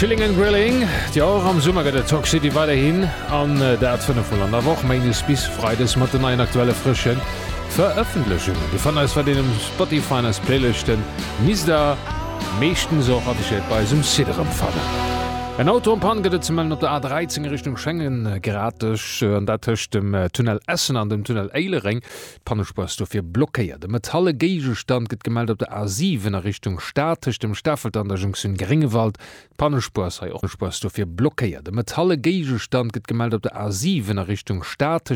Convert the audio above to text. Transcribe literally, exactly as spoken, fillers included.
Chilling and Grilling. Jo, och am Summer gëtt et Talk City weiderhin an dat fënnef Mol an der Woch, méindes bis freides mat den neien aktuelle frësche Verëffentlechungen. Dir fannt eis weiderhin um Spotify an eis Playlëschten misst der meeschtens och affichéiert bei eis um Site erëmfannen. En Auto en panne gëtt et ze mellen op der A dräizéng a Richtung Schengen, gratis, an dat tëscht dem Tunnel Essen an dem Tunnel Éilereng. D'Pannespuer ass dofir blockéiert. E metalle Géigestand gëtt gemellt op der A siwen a Richtung Stad, tëscht dem Stafelter an der Jonktioun Gréngewald. D'Pannespuer ass hei och Spuer ass dofir blockéiert. E metalle Géigestand gëtt gemellt op der A siwen a Richtung Stad, tëscht.